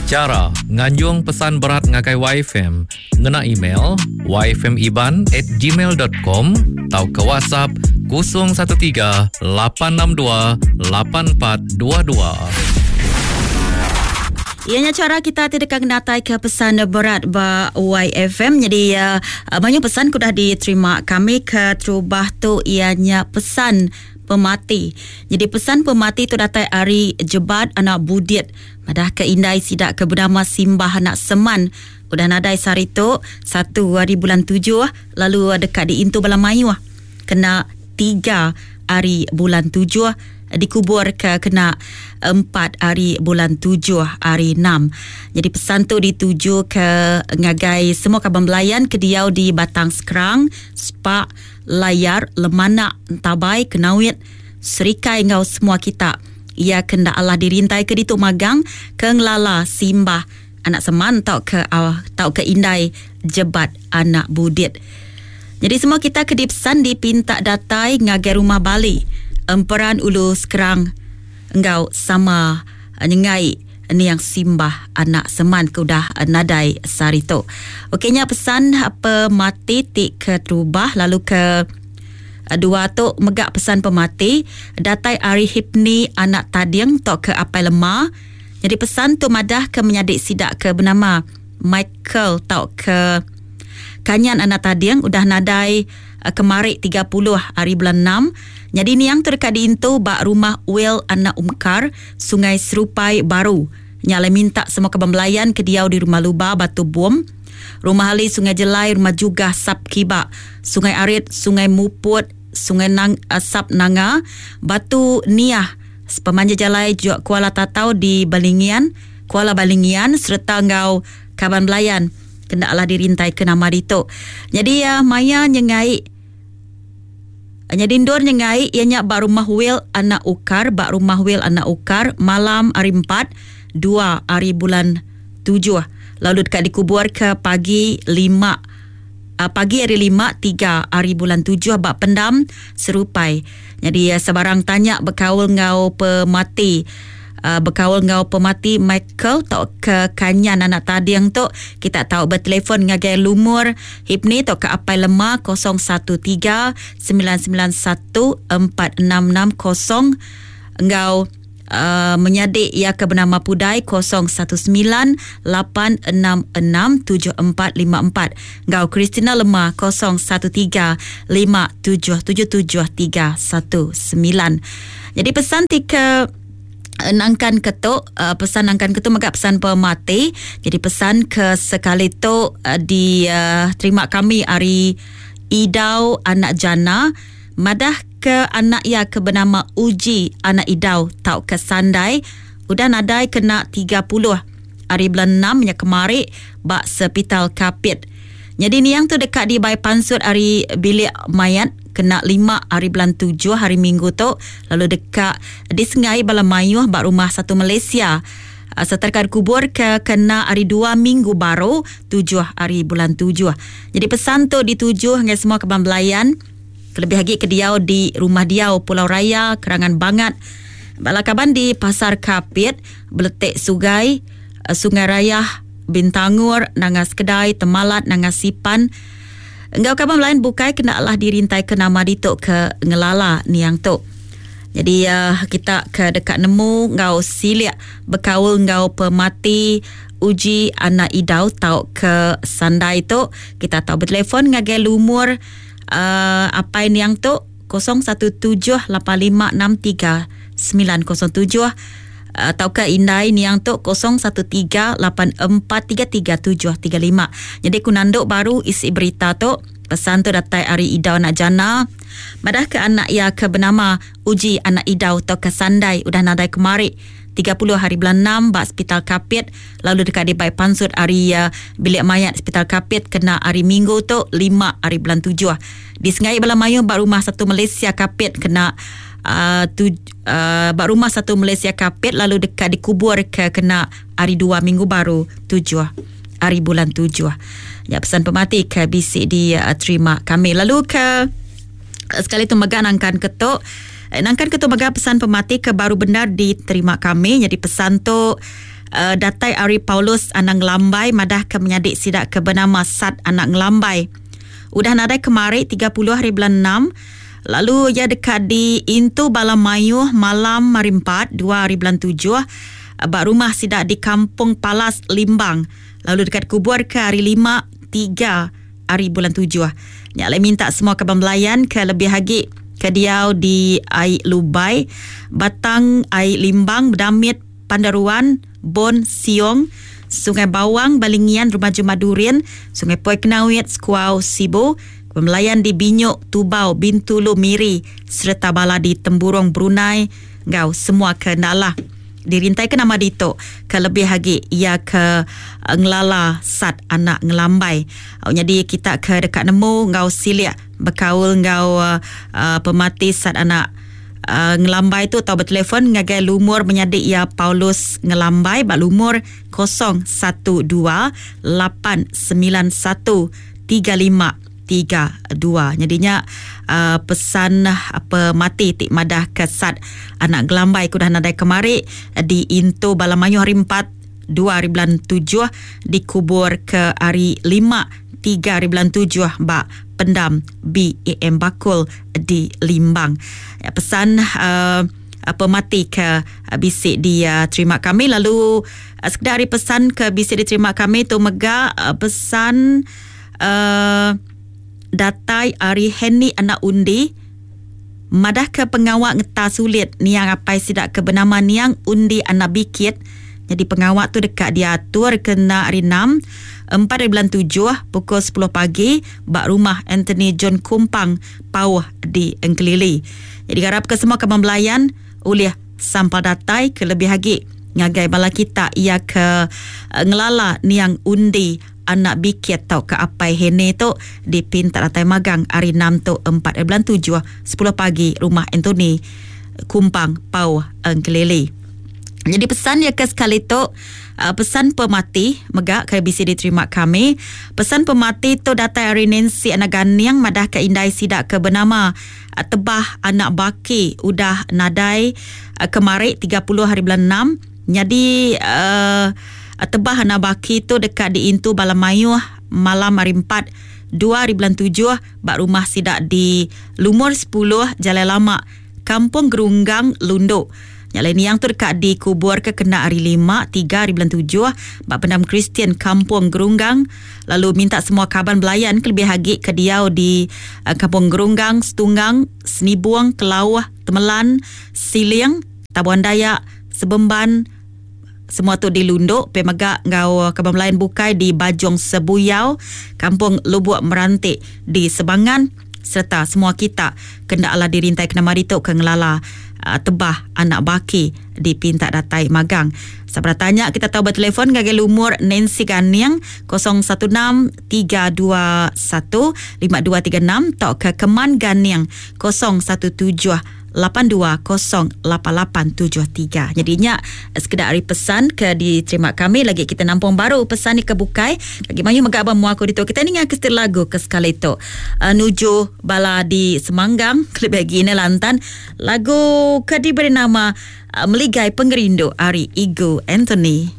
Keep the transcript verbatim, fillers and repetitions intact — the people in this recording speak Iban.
Chara nganjung pesan berat ngagai Y F M ngena email y f m iban at gmail dot com atau ke WhatsApp kosong satu tiga lapan enam dua lapan empat dua dua. Ianya cara kita tidak kenatai ke pesan berat ba Y F M. Jadi, uh, banyak pesan kudah diterima kami ke terubah tu ianya pesan pemati. Jadi pesan pemati tu datai ari Jebat anak Budit. Madah ke indai sidak ke bernama Simbah anak Seman. Udah nadai sehari tu satu hari bulan tujuh lalu dekat di Intu Bala Mayuh kena tiga hari bulan tujuh dikubur ke kena empat hari bulan tujuh hari enam. Jadi pesan tu dituju ke ngagai semua kaban belayan ke diau di Batang Sekerang, Sepak, Layar, Lemanak, Entabai, Kenawit, Serikai ngau semua kita. Ia kena Allah dirintai ke ditu magang ke ngelala Simbah anak Seman tau ke, uh, tau ke indai Jebat anak Budit. Jadi semua kita ke dipesan dipinta datai ngagai rumah Bali Emperan Ulu Sekerang engau sama nyengai niang Simbah anak Seman ke udah nadai sehari tu. Okeynya pesan pemati ti ke terubah lalu ke dua tu megak pesan pemati datai ari Hipni anak Tading tok ke Apai Lema. Jadi pesan tu madah ke menyadik sidak ke bernama Michael tok ke Kanyan anak Tading udah nadai kemari tiga puluh hari bulan enam. Jadi niang tu dekat diintu bak rumah Will anak Umkar Sungai Serupai Baru. Nyalai minta semua kaban belayan ke diau di rumah Luba Batu Bom, Rumah Ali Sungai Jelai, Rumah Jugah Sap Kiba, Sungai Arit, Sungai Muput, Sungai Nang, uh, Sap Nanga, Batu Niah, Sepemanjang Jalai Juak Kuala Tatau di Balingian, Kuala Balingian serta ngau kaban belayan kena Allah dirintai ke nama ditu. Jadi uh, maya nyengai jadi ndur nyengai ianya bak rumah Will anak Ukar, bak rumah Will anak Ukar malam hari empat, dua hari bulan tujuh. Lalu dekat dikubur ke pagi lima, uh, pagi hari lima, tiga hari bulan tujuh bak pendam Serupai. Jadi uh, sebarang tanya berkaul ngau pemati, uh, berkaul ngau pemati Michael tau ke Kanyan anak Tading tu kita tahu bertelefon ngagai lumur Hipni tau ke Apai Lema kosong satu tiga sembilan sembilan satu empat enam enam kosong ngau, uh, menyadik ia ke bernama Pudai kosong satu sembilan lapan enam enam tujuh empat lima empat ngau Christina Lema kosong satu tiga lima tujuh tujuh tujuh tiga satu sembilan. Jadi pesan tiga nangkan ketuk, uh, pesan nangkan ketuk maka pesan pemati. Jadi pesan ke sekali tu, uh, di, uh, terima kami ari Idau anak Jana madah ke anak ia ke bernama Uji anak Idau tau ke Sandai udah nadai kena tiga puluh hari bulan enam nya kemari bak sepital Kapit. Jadi niang tu dekat di Bai Pansut hari bilik mayat kena lima hari bulan tujuh hari Minggu tu lalu dekat di Sengai Bala Mayuh bak rumah satu Malaysia. Ah, serta kubur ke kena hari dua Minggu baru tujuh hari bulan tujuh. Jadi pesan tu dituju dengan semua kaban belayan kelebih lagi ke diau di rumah diau Pulau Raya Kerangan Bangat. Bala kaban di Pasar Kapit, Beletek Sugai, ah, Sungai Raya, Bintangur, Nangas Kedai, Temalat, Nangas Sipan. Enggau kaban lain bukai kena lah dirintai ke nama ditu ke ngelala niang tu. Jadi, uh, kita ke dekat nemu ngau silik berkaul ngau pemati Uji anak Idau tau ke Sandai tu kita tahu bertelefon ngagai lumur, uh, apai niang tu kosong satu tujuh lapan lima enam tiga sembilan kosong tujuh atau ke indai niang tu kosong satu tiga lapan empat tiga tiga tujuh tiga lima. Jadi ku nanduk baru isi berita tu pesan tu datai ari Idau anak Jana madah ke anak ia ke bernama Uji anak Idau atau ke Sandai udah nadai kemari tiga puluh hari bulan enam bak Hospital Kapit lalu dekat di Bai Pansut hari, uh, bilik mayat Hospital Kapit kena hari Minggu tu lima hari bulan tujuh. Di Sengai Bala Mayuh bak rumah satu Malaysia Kapit kena, uh, tu, uh, bak rumah satu Malaysia Kapit lalu dekat dikubur ke kena hari dua Minggu baru tujuh hari bulan tujuh. Ya pesan pemati ke B C di, uh, terima kami. Lalu ke, uh, sekali tu megang nangkan ketuk. Eh, nangkan ketuk megang pesan pemati ke baru benar diterima kami. Jadi pesan tu uh, datai ari Paulus anak Ngelambai madah ke menyadi sidak ke bernama Sat anak Ngelambai. Udah nadai kemari tiga puluh hari bulan enam, lalu ia dekat di Intu Bala Mayuh malam hari empat, dua hari bulan tujuh, ba rumah sidak di Kampung Palas Limbang. Lalu dekat kubur ke hari lima, tiga hari bulan tujuh. Nyak lai minta semua kaban belayan ke lebih agi ke diau di Ai Lubai, Batang Ai Limbang, Bedamit, Pandaruan, Bon Siong, Sungai Bawang, Balingian, Rumah Jumat Durin, Sungai Poi Kenawit, Sekuau, Sibu, pemelayan di Binyuk, Tubau, Bintulu, Miri, serta bala di Temburong, Brunei, ngau semua ke nalah. Dirintai ke nama dito, ke lebih lagi ia ke ngelala Sat anak Ngelambai. Oh, jadi kita ke dekat nemu ngau silik bekaul ngau uh, pemati Sat anak Uh, Ngelambai tu atau bertelefon ngagai lumur menyadik ia Paulus Ngelambai bak lumur kosong satu dua lapan sembilan satu tiga lima tiga dua. Jadinya uh, pesan apa mati tik madah ke Sat anak Ngelambai kudah nadai kemari di Intu Balamayu hari empat dua hari bulan tujuh dikubur ke hari lima tiga hari bulan tujuh bak pendam B A M Bakul di Limbang. Ya, pesan uh, apa mati ke uh, bisik dia terima kami. Lalu uh, sekedar hari pesan ke bisik diterima kami tu mega uh, pesan uh, datai ari Henny anak Undi madah ke pengawak ngeta sulit niang apai sidak ke bernama niang Undi anak Bikit. Jadi pengawak tu dekat diatur kena hari enam empat hari bulan tujuh pukul sepuluh pagi bak rumah Anthony John Kumpang Pauh di Engkelili. Jadi harap ke semua kaban belayan oleh sampal datai ke lebih lagi ngagai bala kita ia ke uh, ngelala niang Undi anak Bikit tau ke apai Hene tu dipinta datai magang hari enam tu empat hari bulan tujuh sepuluh pagi rumah Anthony Kumpang Pauh Engkelili. Jadi pesan ya ke sekali tu uh, pesan pemati megak ke B C diterima kami. Pesan pemati tu datai hari Nancy anak Ganiang madah ke indai sidak ke bernama uh, Tebah anak Baki udah nadai uh, kemari tiga puluh hari bulan enam. Jadi uh, Tebah anak Baki tu dekat di Intu Balamayuh malam hari empat dua hari bulan tujuh bak rumah sidak di Lumur sepuluh Jalan Lama Kampung Gerunggang Lunduk. Yang lain yang tu dekat dikubur ke kena hari lima, tiga hari bulan tujuh bak pendam Kristian Kampung Gerunggang. Lalu minta semua kaban belayan ke lebih hagi ke diau di uh, Kampung Gerunggang, Setunggang, Senibuang, Kelauh, Temelan, Siling, Tabuan Dayak, Sebemban, semua tu di Lunduk, Pemegak ngau kaban belayan bukai di Bajong Sebuyau, Kampung Lubuk Merantik di Sebangan, serta semua kita kena ala dirintai kena mari tu ke ngelala Tebah anak Baki di Pintak Datai Magang. Sabar tanya kita tahu bertelefon ngagai lumur Nancy Ganiang kosong satu enam tiga dua satu lima dua tiga enam atau ke Keman Ganiang kosong satu tujuh lapan dua kosong lapan lapan tujuh tiga. Jadinya sekedar hari pesan ke diterima kami lagi kita nampung baru pesan ni ke bukai. Lagi mayu megak abang muaku ditu. Kita ni ngak kestil lagu ke sekali tu. Uh, nuju bala di Semanggang klip lagi ini lantan lagu ke diberi nama uh, Meligai Pengerindu ari Igu Anthony.